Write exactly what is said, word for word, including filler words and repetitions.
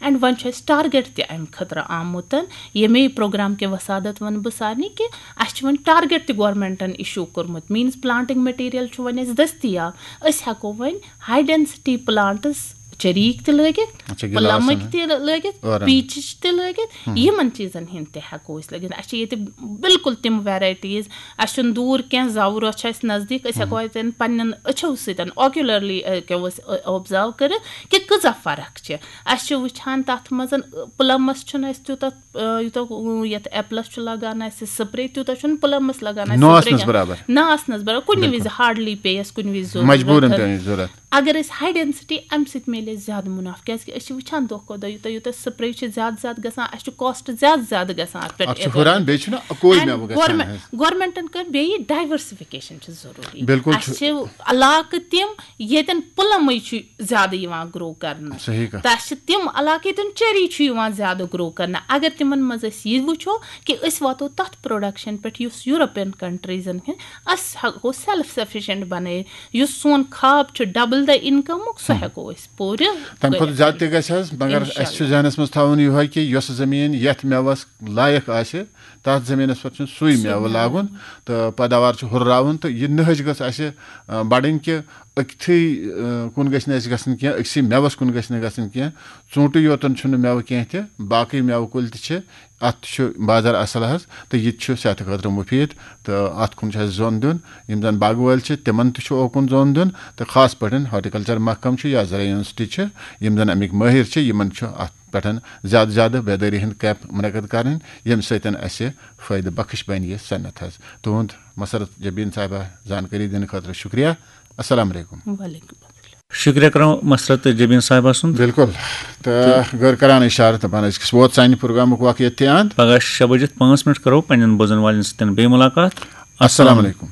And وۄنۍ چھُ اَسہِ ٹارگیٹ تہِ اَمہِ خٲطرٕ آمُت، ییٚمے پروگرام کہِ وسادت وَنہٕ بہٕ سارنٕے کہِ اَسہِ چھُ وۄنۍ ٹارگیٹ تہِ گورنمنٹَن اِشوٗ کوٚرمُت، مینٕز پلانٹنگ مٹیریل چھُ وۄنۍ اَسہِ دٔستیاب، أسۍ ہٮ۪کو وۄنۍ ہاے ڈینسٹی پلانٹس چریٖک تہِ لٲگِتھ، اچھا، گِلاسَن پلمٕکۍ تہِ لٲگِتھ، ٲرَن۔ پیٖچِچ تہِ لٲگِتھ، یِمن چیٖزن ہِنٛدۍ تہِ ہٮ۪کو أسۍ لٲگِتھ۔ اَسہِ چھِ ییٚتہِ بالکل تِم ویرایٹیٖز، اَسہِ چھُنہٕ دوٗر کینٛہہ، زَوروہ چھُ اَسہِ نزدیٖک، أسۍ ہٮ۪کو اَتٮ۪ن پننٮ۪ن أچھو سۭتۍ، آکیولرلی ہٮ۪کو أسۍ آبزرو کٔرِتھ کہِ کۭژاہ فرق چھِ۔ اَسہِ چھِ وٕچھان تَتھ منٛز، پلمس چھُنہٕ اَسہِ تیوٗتاہ، یوٗتاہ یَتھ ایپلس چھُ لگان اَسہِ سپرے، تیوٗتاہ چھُنہٕ پلمس لگان اَسہِ نہ سپرے آسنَس کینٛہہ۔ برابر۔ نہ آسنَس برابر، کُنہِ بِلکُل۔ وِزِ ہارڈلی پیٚیہِ اَسہِ کُنہِ وِزِ ضروٗرت مجبوٗرن ضروٗرت۔ پیٚیہِ ضروٗرت۔ اگر أسۍ ہاے ڈینسٹی اَمہِ سۭتۍ میلہِ اَسہِ زیادٕ مُنافع، کیٛازِکہِ أسۍ چھِ وٕچھان دۄہ کھۄتہٕ دۄہ یوٗتاہ یوٗتاہ سپرے چھِ زیادٕ زیادٕ گژھان، اَسہِ چھُ کاسٹ زیادٕ زیادٕ گژھان اَتھ پٮ۪ٹھ اَتھ چھُ اِتھَے ہُران، پٲٹھۍ۔ بیٚیہِ چھُنہٕ اَکوے and مٮ۪وٕ گژھان گورمٮ۪نٹ، حظ۔ گورمٮ۪نٹَن کٔر بیٚیہِ ڈایورسفِکیشن چھِ ضروٗری۔ بِلکُل اَسہِ چھُ۔ چھِ علاقہٕ تِم ییٚتٮ۪ن پلمٕے چھُ زیادٕ یِوان گرو کرنہٕ۔ صحیح کَتھ۔ تہٕ اَسہِ چھِ تِم علاقہٕ ییٚتٮ۪ن چیری چھُ یِوان زیادٕ گرو کرنہٕ۔ اگر تِمن منٛز أسۍ یہِ وٕچھو کہِ أسۍ واتو تَتھ پروڈکشن پٮ۪ٹھ یُس یوٗروپین کنٹریٖزن ہِنٛد، أسۍ ہٮ۪کو سیلف سفیشنٹ بنٲیِتھ، یُس سون خواب چھُ ڈبل دا انکمُک، سُہ ہیٚکو أسۍ پوٗرٕ تَمہِ کھۄتہٕ کٔرِتھ۔ زیادٕ تہِ گژھِ حظ، مگر اِنشاء اَسہِ چھُ اللہ۔ ذہنَس منٛز تھاوُن یِہوٚے کہِ یۄس زٔمیٖن یَتھ مٮ۪وَس لایق آسہِ، تَتھ زٔمیٖنَس پٮ۪ٹھ چھُنہٕ سُے سُے مٮ۪وٕ مٮ۪وٕ۔ لاگُن تہٕ پیداوار چھِ ہُرراوُن، تہٕ یہِ نٔہٕج گٔژھ اَسہِ، آ، بَڑٕنۍ کہِ أکتھٕے، آ، کُن گژھِ نہٕ اَسہِ گژھُن کینٛہہ، أکسٕے مٮ۪وَس کُن گژھِ نہٕ گژھُن کینٛہہ۔ ژوٗنٛٹھٕے یوتَن چھُنہٕ مٮ۪وٕ کینٛہہ تہِ، باقٕے مٮ۪وٕ کُلۍ تہِ چھِ، اَتھ تہِ چھُ بازار اَصٕل حظ، تہٕ یہِ تہِ چھُ صحتہٕ خٲطرٕ مُفیٖد، تہٕ اَتھ کُن چھُ اَسہِ زوٚن دیُن۔ یِم زَن باغہٕ وٲلۍ چھِ، تِمَن تہِ چھُ اوکُن زوٚن دیُن، تہٕ خاص پٲٹھۍ ہارٹیکلچر محکمہٕ چھُ یا زرعی یونیورسٹی چھِ، یِم زَن اَمِکۍ مٲہِر چھِ، یِمَن چھُ اَتھ پٮ۪ٹھ زیادٕ زیادٕ بیدٲری ہُنٛد کیمپ مُنعقد کَرٕنۍ، ییٚمہِ سۭتۍ اَسہِ فٲیدٕ بخش بَنہِ یہِ صنعت حظ۔ تُہُنٛد مسرت جبیٖن صاحبہ زانکٲری دِنہٕ خٲطرٕ شُکریہ۔ السلام علیکم۔ وعلیکم السلام۔ شُکریہ کرو مسرت جبیٖن صاحبہ سُنٛد۔ بِلکُل۔ تہٕ غٲر کران اِشارٕ، دَپان أزکِس ووت سانہِ پروگرامُک وقت ییٚتہِ تہِ اَنٛد۔ پگاہ شےٚ بجِتھ پانٛژھ منٹ کرو پننٮ۪ن بوزن والٮ۪ن سۭتۍ بیٚیہِ مُلاقات۔ السلام علیکم۔